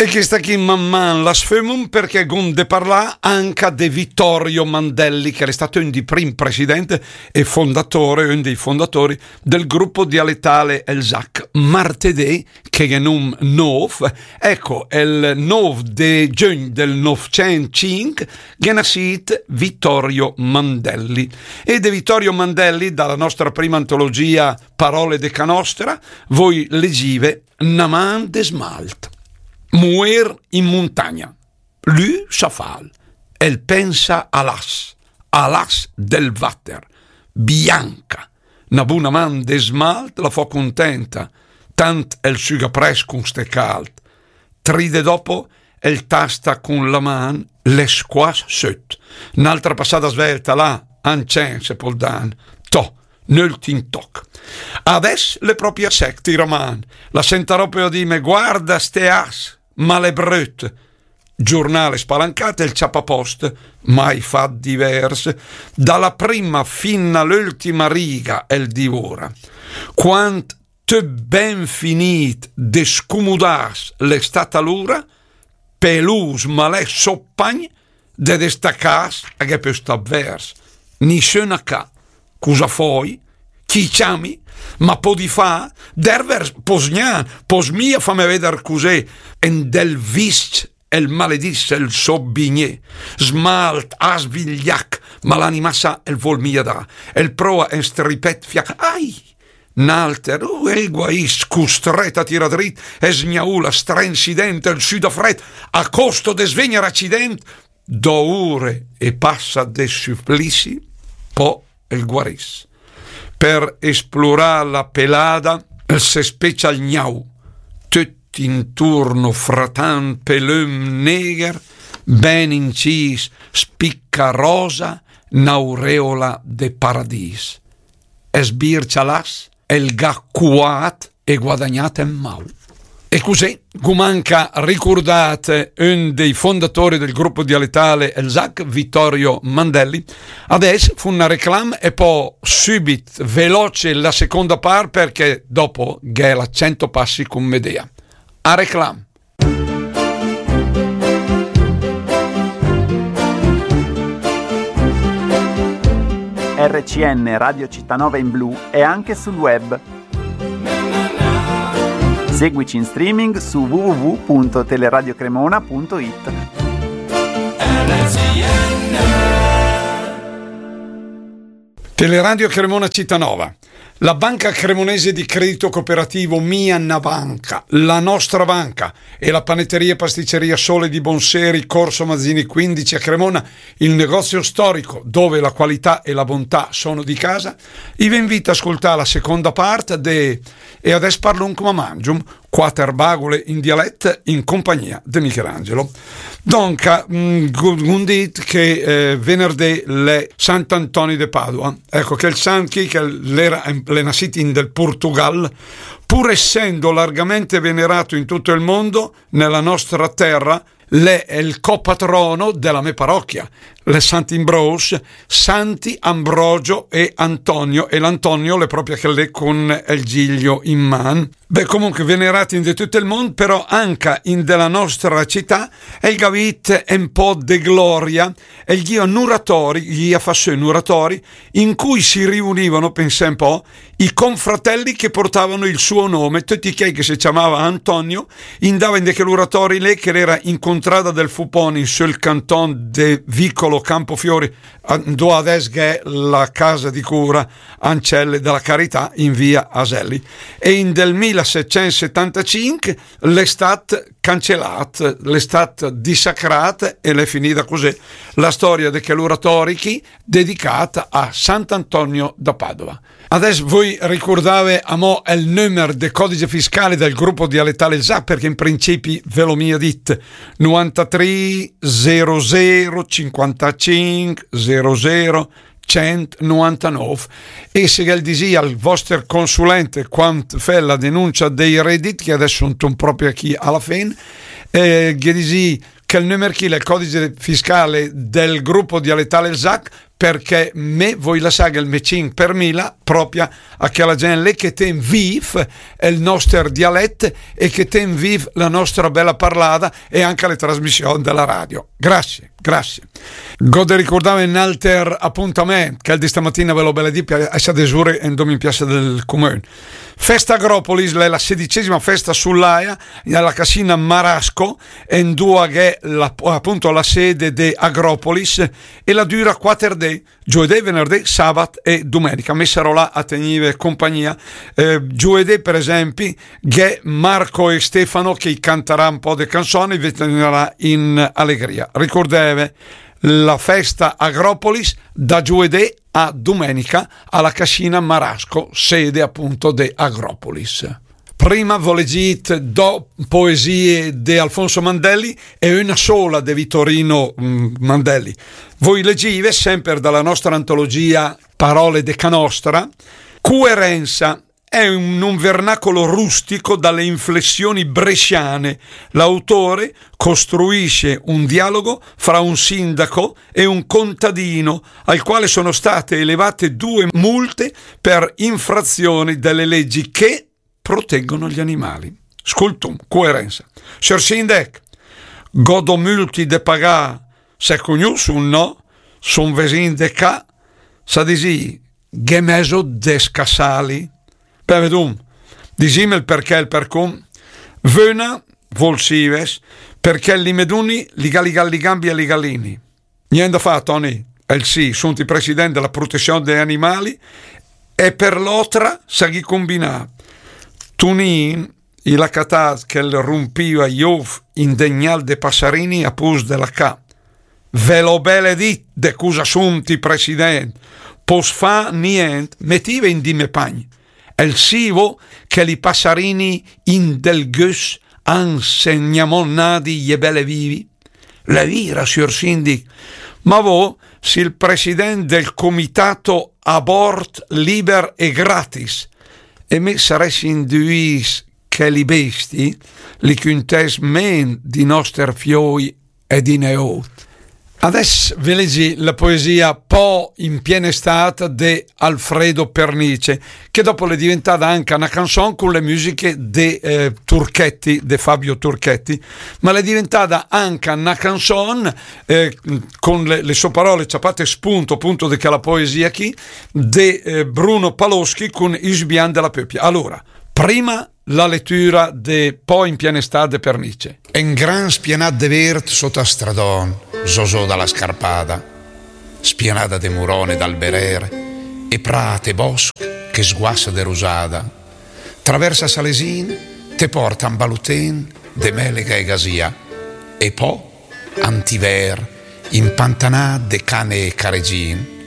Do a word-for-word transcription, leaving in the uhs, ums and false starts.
E chèsta chì man man la sfömum perché gh'um de parlà anca de Vittorio Mandelli, che l'è stat un di prim president e fondatore, un dei fondatori del gruppo dialettale El Zac. Martedì, che gh'è num nov, ecco, el nov de giögn del novcent cinch, gh'è nascit Vittorio Mandelli. E de Vittorio Mandelli, dalla nostra prima antologia Parole de ca nostra, voi legive Na man de smalt. Muer in muntagna. Lü sa fal. El pensa a l'as, a l'as del vater. Bianca. Na buna man de smalt la fo cuntenta. Tant el süga prest cun ste calt. Tri dé dopo, el tasta cun la man l'è squas söt. N'altra passada svelta là, an cen se pol dan. To, n'öltim toc. Adès l'è propia sec, tira man. La sentarò pö a dime: "Guarda ste as, ma l'è bröt." Giurnale spalancat, el ciapa post, mai fat divers. Dalla prima fin a l'öltima riga el divora. Quant töt ben finit de scumudàs l'è stat alura, pelùs ma l'è sopagn, de destacàs a gh'è pö stat vers. Nisün a cà. Cusa fói? Chi ciami? Ma pödi fà? Dèrver pös gna, pös mia fame veder cus'è en del visc el maledìs el sò bignè. Smalt, as, vigliac, ma l'anima sa el völ mia dà. El pröa en stripet fià. Ai! N'alter, uh, el guaìs, custret a tirà drit, e sgnaula, strenz i dent, el süda fret, a costo de svegner accident, dò ure e passa de suplizi, pò el guarìs. Per esplorà la pelada, el se specia al gnau, töt inturno fratant pelöm negher, ben incìs, spicca rosa, n'aureola de paradìs. E sbircia l'as, el gh'à cuat e guadagnat en mau. E cusì, gh'um anca ricurdàt un dei fondatori del gruppo dialettale El Zac, Vittorio Mandelli. Adès fum na reclam e pò sübit veloce la seconda part, perché dopo gh'è la cento passi cun Medea. A reclam. R C N Radio Città Nova in blu è anche sul web. Seguici in streaming su w w w punto teleradio cremona punto i t. Teleradio Cremona Città Nova. La Banca Cremonese di Credito Cooperativo Mia na Banca, la nostra banca, e la panetteria e pasticceria Sole di Bonseri, Corso Mazzini quindici a Cremona, il negozio storico dove la qualità e la bontà sono di casa, i ve invita a ascoltare la seconda parte de E adès parlum coma mangium, quater bagule in dialet in compagnia de Michelangelo. Donca, mm, gu-, gh'um dit che, eh, venerdì l'è Sant'Antoni de Padova. Ecco, che el sant chì, che l'era, l'è nascit in del Portugal, pur essendo largamente venerato in tutto il mondo, nella nostra terra l'è el copatrono de la me paròchia, l'è Sant'Imbròs, Santi Ambrogio e Antonio, e l'Antonio l'è pròpia chel lé cun el giglio in man. Beh, comunque, venerat in de tüt el mund, però anca in de la nostra cità, el gh'à vit en pò de gloria, el gh'ìa n'uratori, gh'ìa fà sö n'uratori, in cui si riunivano, pensè en pò, i confratelli che portavano il suo nome, töcc chèi che se ciamava Antonio, indava in de chel uratori lé, che l'era in contrada del Fupon, in sö el canton de Vicolo Campofiori, a-, 'ndo adès gh'è la casa di cura Ancelle della Carità, in via Aselli. E in del mila setcent setantacinc l'è stat cancelàt, l'è stat dissacràt e l'è finida cusì la storia de chel uratori chì, dedicàt a Sant'Antonio da Padova. Adès voi ricurdave amò el nömer de codice fiscale del gruppo dialettale Zac, perché in principi ve l'ho mia dit, novantatrì zero zero cinquantacinc zero zero centonovantanove, e se gh'el disì al voster consulente quand fè la denuncia dei redit, che adès sun pròpia chì a la fen, eh, ghe disì che el nömer chì l'è el codice fiscale del gruppo dialettale Zac, perché me vöi lassà el me cinch per mila propria a chela gent lé che ten vif el noster dialet e che ten vif la nostra bela parlada e anca le trasmission dela radio. Grazie, grazie. G'ho de ricurdà un alter apuntament, chel de stamatina, ve l'ho bele dì, a sà desure in dom in piassa del Comün. Festa Agropolis, l'è la sedicesima festa sull'aia, alla casina Marasco, e in dua gh'è la, appunto la sede de Agropolis, e la dura quatter dì, giovedì, venerdì, sabat e dumenica. Me sarò là a tegnive compagnia. Eh, giovedì, per esempi, gh'è Marco e Stefano che i cantarà un po' de canzoni, vi tenerà in allegria. Ricordeve, la festa Agropolis da giovedì a dumenica alla casina Marasco, sede appunto de Agropolis. Prima v'ho legit do poesie de Alfonso Mandelli e una sola de Vittorino, mm, Mandelli. V'ho legive sempre dalla nostra antologia Parole de Canostra. Cuerenza è un, un vernacolo rustico dalle inflessioni bresciane. L'autore costruisce un dialogo fra un sindaco e un contadino, al quale sono state elevate due multe per infrazioni delle leggi che proteggono gli animali. Scultum, cuerenza. Sior Sindec, g'ho do multi de pagà, se cugnusun, no? Sun vesin de ca, sa disì, gh'è meso de scassali. Beh, vedum, disim el perché, el percum. Vöna, vol sives, perché li me duni li ga li ga li gambi a li gallini. Nient da fà, Toni, el sì, sunt i president della protezion dei animali, e per l'otra sa gh'ì combinà. Tunin, i l'ha catà che el rumpiva i ov in de gnal de passarini a pus de la ca. Ve l'ho bele dit de cusa sunt i president, pos fà nient, metive in di me pagn. El sivo che li passarini in del gös han segnamonnadi i è bele vivi? L'è vira, sior sindic, ma vo sì il president del comitato abort liber e gratis, e me saress induis che li besti li cuntes men di noster fioi e di neot. Adess ve legi la poesia Po in piena estat de Alfredo Pernice, che dopo l'è diventada anca una canzon con le musiche de, eh, Turchetti, de Fabio Turchetti, ma l'è diventada anca una canzon, eh, con le, le sue parole ciapate spunto appunto de quella poesia qui, de, eh, Bruno Paloschi con I sbian de la pöpia. Allora, prima la letura de Po in piena estat de Pernice. En gran spianat de vert sot a stradon, zozò da la scarpada, spianada de muron e d'alberer, e prat e bosch che sguassa de rusada, travers a Salesin te porta un baluten de melega e gasia, e po a Antiver, impantanat de cane e caregin,